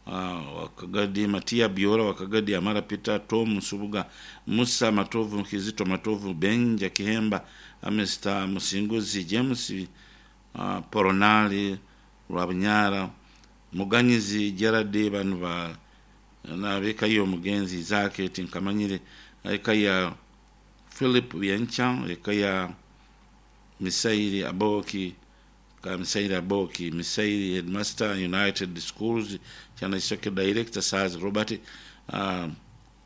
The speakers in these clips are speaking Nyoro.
Wakagadi Matia Biora Wakagadi Amara Peter Tom Nsubuga Musa Matovu Kizito Matovu Benja Kihemba, Mr. Musinguzi James, Poronali Rwabunyara Muganyizi Gerard banu ba nabeka yo mugenzi Isaac Tinkamanyire eka ya Philip Byancha eka ya Misairi Aboki ka Misairi Aboki Misairi Headmaster United Schools Chana Isoke Director Saz Robert,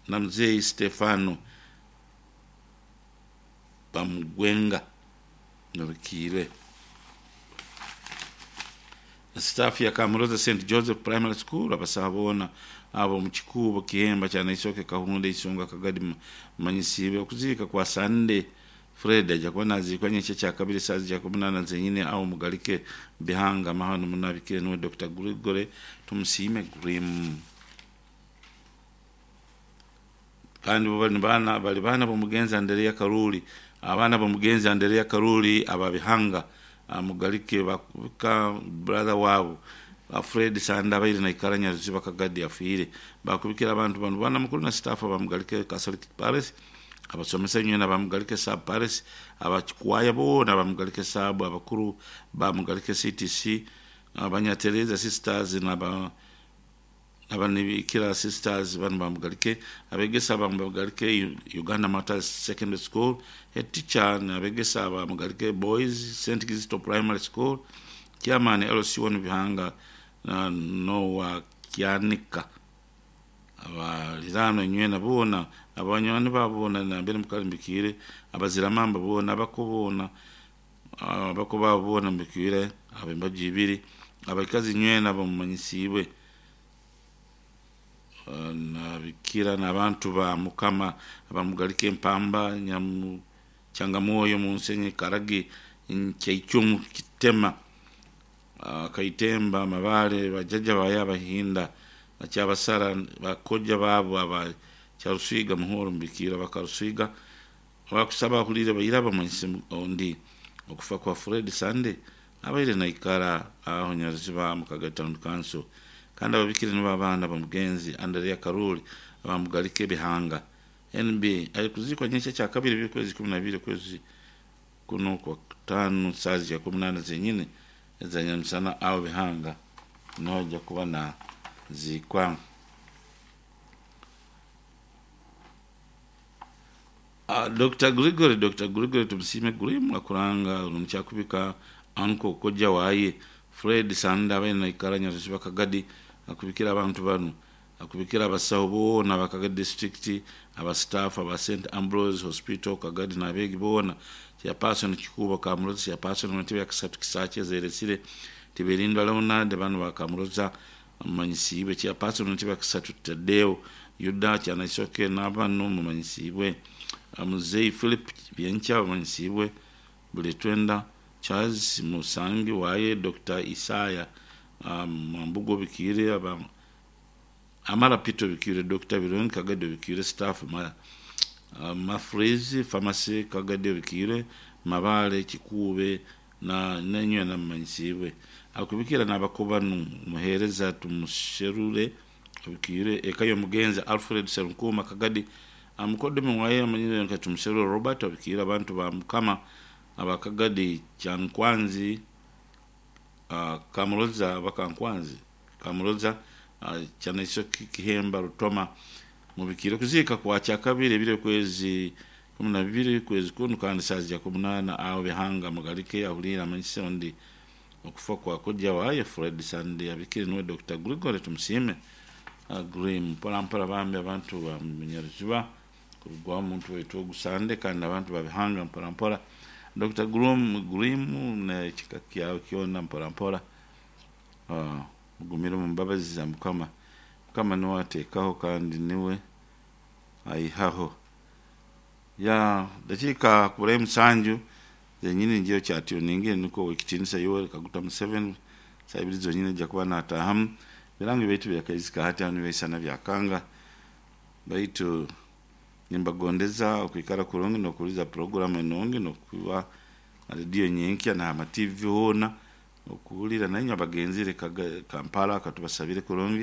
na mzee Stefano Bamugwenga nabikire staff ya Kamuroza St Joseph Primary School abasaba boona abo mu Kikuubo Kihemba Kyana Isoke Kahunda Isonga Kagadi manyisibe okuziika kwa Sunday Fred ajja kuba naziikwa nyenkya kyakabiri saa zijja kumunana zenyine awo mugalike Bihanga mahano munabikire niwe Dr. Gregory Tumusiime Grim kandi bo bali bana bali bana b'omugenzi Andereya Karuri abaana b'omugenzi Andereya Karuri aba Bihanga mugalike bakubika brother wabo Fred Sanda abaire naikara Nyaruziba Kagadi afiire bakubikira abantu bano bana mukuru na staff abamugalike Catholic Parish abasomesa nywena abamugalike sub parish abakikwaya boona abamugalike sub abakuru bamugalike CTC abanyatereza sisters naba abanibikira sisters bano bamugalike abegesa bamugalike Uganda Martyrs Secondary School head teacher nabegesa bamugalike Boys St Kizito Primary School chairman LC1 Bihanga Noah Kyanika abaliraano nywena boona abanywani babo boona nambere mukali abaziramamba boona abako boona abako babo boona mbikire abembaji ibiri abaikazi nywena bamumanyisiibwe nabikira n'abantu ba Mukama abamugalike Empamba Nyamu Changamwoyo Munsenyi Karagi Nkyaichumu Kitema, Kaitemba Mabale bajjajja baye Abahinda bakyabasara bakojja baabo aba Kyarusiga Muhoro Mbikira bakarusiga bakusaba ahulire baira bamanyise ondi okufa kwa Fred Sande abaire naikara aho Nyaruziba mu Kagadi Town Council kandi ababikire nibo abaana bamugenzi Andereya Karuri abamugalike Bihanga NB ali kuzikwa nyenkya kyakabiri by'okwezi 12 kwezi kuno kwa tano saa ya 18 zenyine eza nyamusana aho Bihanga niho ajja kuba nazikwa. Dr. Gregory Dr. Gregory Tumusiime Grim akuranga omukyakubika anko kojja waye Fred Sanda abaine naikara Nyaruziba Kagadi akubikira abantu bano akubikira abasawo boona aba Kagadi district aba staff aba St Ambrose Hospital Kagadi n'abeegi boona chairperson Kikuubo Kamuroza chairperson w'entebe ya Kasatu Kisakye Zeresire Tiberindwa Leonard bano ba Kamuroza mumanyisiibwe chairperson w'entebe ya Kasatu Tadeo Yuda Kyanaisoke n'abano mumanyisiibwe Muzeyi Philip Byenkya bamanyisiibwe buli twenda Charles Musangi waye Dr. Isaya Mambugo Bikire aba Amara Pito Bikire Dr. Birungi Kagadi Bikire staff Mafrizi Pharmacy Kagadi Bikire Mabale Kikuube na nenywe namumanyisiibwe akubikira n'abakobanu muhereza tumusherure Bikire eka y'omugenzi Alfred Serunkuma Kagadi amukodome waye amanyire nka tumusherure Robert abikira abantu ba Mukama abakagadi Kyankwanzi, Kamuroza bakankwanzi Kamuroza, Kyanaiso Kihemba Rutoma mubikire kuziika kwa kyakabiri ebiro kwezi 12 kwezi kunu kandi saa zijja kumunana aho Bihanga mugalike ahulire amanyise ondi okufa kwa kojja waye Fred Sande abikire niwe Dr. Gregory Tumusiime Grim mpola mpola bambi abantu ba Munyaruziba kurugwaho omuntu waitu ogu Sande kandi abantu ba Bihanga mpola mpola Dr. Grim Grim n'ekika kyawe kyona mpola mpola, mugumire omu mbabazi za Mukama. Mukama niwe ateekaho kandi niwe aihaho ya dakiika kuburayo musanju zenyini ngiyo kyatuninge niko owekitiinisa Yoweri Kaguta Museveni saa ibiri zonyine ajja kuba naataahamu birango byaitu byakaizika hati hanu nibaisana byakanga baitu nimbagondeza okwikara kurungi n'okuhuliza puroguramu enungi n'okuba rediyo nyenkya n'aha TV hoona okuhulira nainywe abagenzire Kampala katubasabire kurungi.